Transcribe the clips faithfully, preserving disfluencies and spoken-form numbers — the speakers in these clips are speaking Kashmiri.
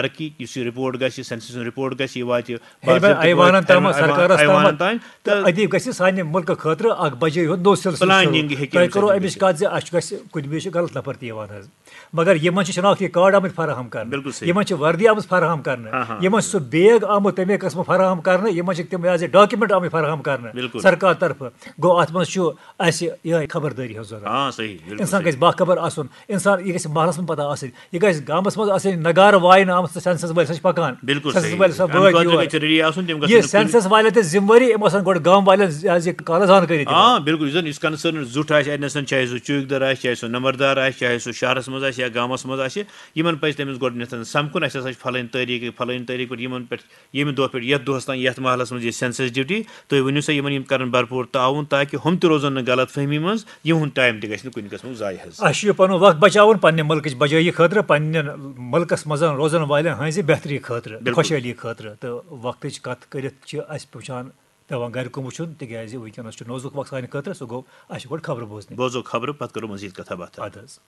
ترقی، یُس یہِ رپورٹ گژھِ، سینسس ہُنٛد رپورٹ گژھِ، یہِ واتہِ ہیٚرِ باقین تہِ، ایوانن تام، ایوان-، سرکارس ایوانن تام، تام۔ تہٕ تہٕ أتی گژھِ سانہِ مُلکہٕ خٲطرٕ اکھ بجے ہُنٛد نوٚو سلسلہٕ شروٗع۔ پلاننگ ہیٚکہِ تۄہہِ اَمہِ کٔرٕو سۭتۍ اَمِچ گٔژھِتھ۔ کتھ زِ اَسہِ چھُ، گژھِ کُنہِ وِزِ چھُ غلط نفر تہِ یِوان حظ، مگر یِمن چھِ شناختی کارڈ آمٕتۍ فراہم کرنہٕ، بِلکُل صحیح۔ یِمن چھِ وردی آمٕژ فراہم کرنہٕ، ہاں، ہاں۔ یِمن چھُ سُہ بیگ آمُت تَمے قٕسمہٕ فراہم کرنہٕ، یِمن چھِ تِم یہِ حظ یہِ ڈاکیومنٹ آمٕتۍ فراہم کرنہٕ بِلکُل۔ سرکار طرفہٕ۔ گوٚو، اتھ منٛز چھُ اَسہِ یِہوٚے خبردٲری ہٕنٛز ضروٗرت۔ ہاں، صحیح، بِلکُل انسان صحیح۔ گژھِ باخبر آسُن، انسان، یہِ گژھِ محلس منٛز پتہ آسٕنۍ، یہِ گژھِ گامس منٛز آسٕنۍ، نگارٕ واینہٕ آمٕژ تہٕ سینسس وٲلۍ سا چھِ پکان۔ بِلکُل سینسس صحیح۔ وٲلۍ سا اَمہِ وٲتۍ خٲطرٕ یور۔ گژھِ ریڈی آسُن، تِم گژھن یہِ نہٕ کُنہِ سینسس والٮ۪ن تہِ ذمہٕ وٲری، یِم آسن گۄڈٕ گام والٮ۪ن زِ-، زِ کالس زانکٲری دِوان۔ آ، بِلکُل، یُس زن یُس کنسرن زُٹھ آسہِ، اتہِ نَسَن چاہے سُہ چوکیدار آسہِ، چاہے سُہ نمبردار آسہِ، چاہے سُہ شہرس منٛز آسہِ یا گامس منٛز آسہِ، یِمن پزِ تٔمِس گۄڈٕنیتھ سمکھُن، اَسہِ ہسا چھِ فلٲنۍ تٲریٖخ، فلٲنۍ تٲریٖخ پٮ۪ٹھ ییٚمہِ دۄہ پٮ۪ٹھ یتھ دۄہس تام یتھ محلس منٛز یہِ سینسس ڈیوٹی، تُہۍ ؤنِو سا یِمن، یِم کرن بھرپوٗر تعاوُن تاکہِ ہُم تہِ روزن نہٕ غلط فہمی منٛز، یِہُنٛد ٹایم تہِ گژھِ نہٕ کُنہِ قٕسمُک ضایع حظ۔ اَسہِ چھُ یہِ پنُن وقت بچاوُن پننہِ مُلکٕچ بجٲیی خٲطرٕ، پننٮ۪ن مُلکس منٛز روزن والٮ۪ن ہٕنٛزِ بہتری خٲطرٕ، بِلکُل۔ خۄشحٲلی خٲطرٕ۔ تہٕ وقتٕچ کتھ کٔرِتھ چھِ اَسہِ وٕچھان پٮ۪وان گرِ کُن وٕچھُن، تِکیازِ وٕنکیٚنس چھُ نوزُک وقت سانہِ خٲطرٕ، سُہ گوٚو اَسہِ چھِ گۄڈٕ خبرٕ بوزنہِ۔ بوزو خبرٕ، پتہٕ کرو مزید کتھا باتھا۔ اَدٕ حظ۔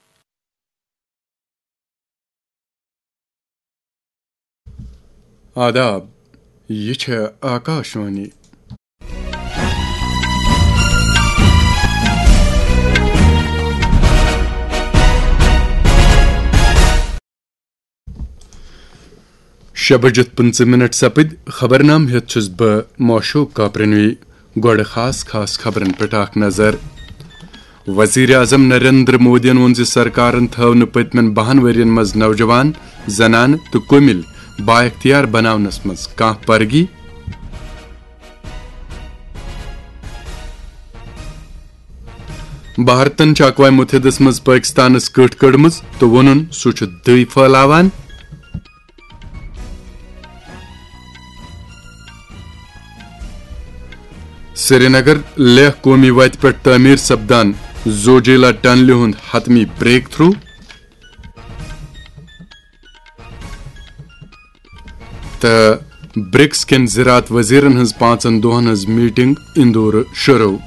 آداب، یہِ چھےٚ آکاشوانی۔ شےٚ بجِتھ پٕنٛژٕہ منٹ سپٕدۍ، خبرنامہٕ ہیٚتھ چھُس بہٕ موشوق کاپرنوی۔ گۄڈٕ خاص خاص خبرن پٮ۪ٹھ اکھ نظر۔ وزیر اعظم نریندر مودیَن ووٚن زِ سرکارن تھٲو نہٕ پٔتمٮ۪ن بَہَن ؤرین منٛز نوجوان، زنانہٕ تہٕ کُمِل بااختیار بناونس منٛز کانٛہہ پرگی۔ بھارتن چھِ اقوام متحدس منٛز پٲکستانس کٔٹھ کٔڑمٕژ تہٕ ووٚنُن سُہ چھُ دٕے پھٲلاوان۔ سرینگر لیہہ قومی وتہِ پٮ۪ٹھ تعمیٖر سپدان زوجیلا ٹنلہِ ہُنٛد حتمی بریک تھرو۔ تہٕ برکس کٮ۪ن زراعت وزیرن ہٕنٛز پانٛژن دۄہن ہٕنٛز میٹنگ اندورٕ شروع۔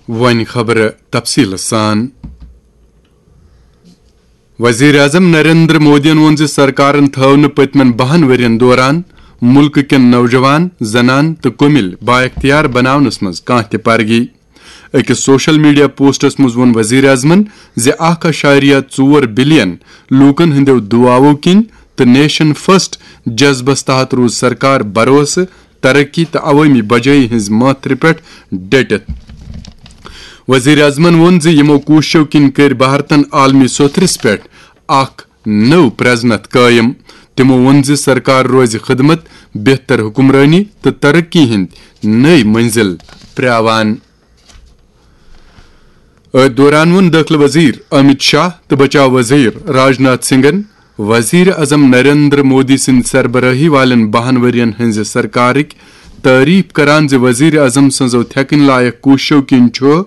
وۄنۍ خبرٕ تفصیٖلہٕ سان۔ وزیر اعظم نریندر مودیَن ووٚن زِ سرکارن تھٲو نہٕ پٔتمٮ۪ن بَہَن ؤرین دوران مُلکہٕ کٮ۪ن نوجوان، زنانہٕ تہٕ کُمِل بااختیار بناونس منٛز کانٛہہ تہِ پرگی۔ أکِس سوشل میڈیا پوسٹس منٛز ووٚن وزیر اعظمن زِ اکھ اعشاریہ ژور بلین لوٗکن ہٕنٛدیو دُعاوو کِنۍ تہٕ نیشن فرسٹ جذبس تحت روٗز سرکار بھروسہٕ، ترقی تہٕ عوٲمی بجٲیی ہٕنٛز مٲتھرِ پٮ۪ٹھ ڈٔٹِتھ۔ وزیر اعظمن ووٚن زِ یِمو کوٗششو کِنۍ کٔرۍ بھارتن عالمی سوتھرِس پٮ۪ٹھ اکھ نٔو پرزنتھ قٲیِم۔ تِمو ووٚن زِ سرکار روزِ خدمت، بہتر حکمرٲنی تہٕ ترقی ہٕنٛدۍ نٔوۍ منزل پرٛاوان۔ أتھۍ دوران ووٚن دٲخلہٕ وزیر امت شاہ تہٕ بچاو وزیر راج ناتھ سنگھن وزیر اعظم نریندر مودی سٕنٛدِ سربرٲہی والٮ۪ن بَہَن ؤرین ہٕنٛزِ سرکارٕکۍ تعریف کران زِ وزیر اعظم سٕنٛزو تھٮ۪کٕنۍ لایق کوٗششو کِنۍ چھُ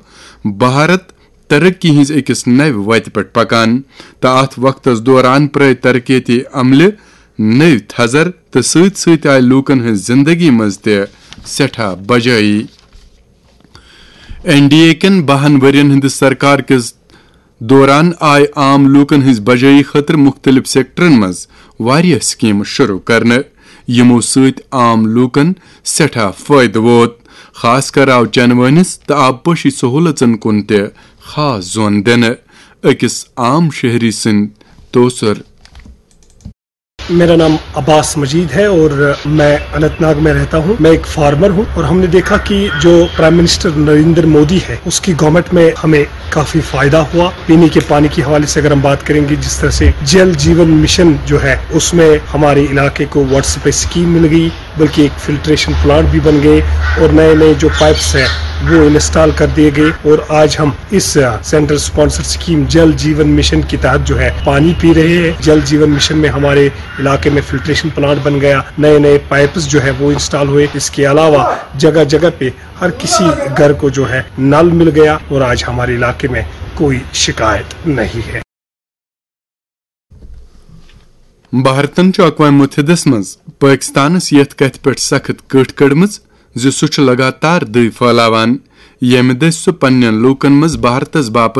بھارت ترقی ہٕنٛزِ أکِس نوِ وتہِ پٮ۪ٹھ پکان تہٕ اتھ وقتس دوران پرٲوۍ ترقیتی عملہِ نٔوۍ تھزر تہٕ سۭتۍ سۭتۍ آیہِ لوٗکن ہٕنٛز زندگی منٛز تہِ سٮ۪ٹھاہ بجٲیی۔ این ڈی اے کٮ۪ن بَہَن ؤرین ہٕنٛدِس سرکار کِس دوران آیہِ عام لوٗکن ہٕنٛز بجٲیی خٲطرٕ مُختٔلِف سیکٹرن منٛز واریاہ سکیمہٕ شروع کرنہٕ، یِمو سۭتۍ عام لوٗکن سٮ۪ٹھاہ فٲیدٕ ووت۔ خاص کر آو چنہٕ وٲنِس تہٕ آبپاشی سہوٗلژن کُن تہِ خاص زون دِنہٕ۔ أکِس عام شہری سٕنٛدۍ توسر۔ میرا نام عباس مجید ہے اور میں اننت ناگ میں رہتا ہوں۔ میں ایک فارمر ہوں اور ہم نے دیکھا کہ جو پرائم منسٹر نریندر مودی ہے، اس کی گورنمنٹ میں ہمیں کافی فائدہ ہوا۔ پینے کے پانی کے حوالے سے اگر ہم بات کریں گے، جس طرح سے جل جیون مشن جو ہے، اس میں ہمارے علاقے کو واٹر سپلائی اسکیم مل گئی، بلکہ ایک فلٹریشن پلانٹ بھی بن گئے اور نئے نئے جو پائپس ہیں، وہ انسٹال کر دیے گئے اور آج ہم اس central sponsor scheme Jal Jeevan mission کے تحت جو ہے پانی پی رہے ہیں۔ جل جیون مشن میں ہمارے علاقے میں فلٹریشن پلانٹ بن گیا، نئے نئے پائپس جو ہے وہ انسٹال ہوئے۔ اس کے علاوہ جگہ جگہ پہ ہر کسی گھر کو جو ہے نل مل گیا اور آج ہمارے علاقے میں کوئی شکایت نہیں ہے۔ بھارتن چھُ اقوام متحدس منٛز پٲکستانس یتھ کتھِ پٮ۪ٹھ سخت کٔٹھ کٔڑمٕژ زِ سُہ چھُ لگاتار دٕے پھٲلاوان۔ ییٚمہِ دٔسۍ سُہ پننٮ۪ن لوٗکن منٛز بھارتس باپتھ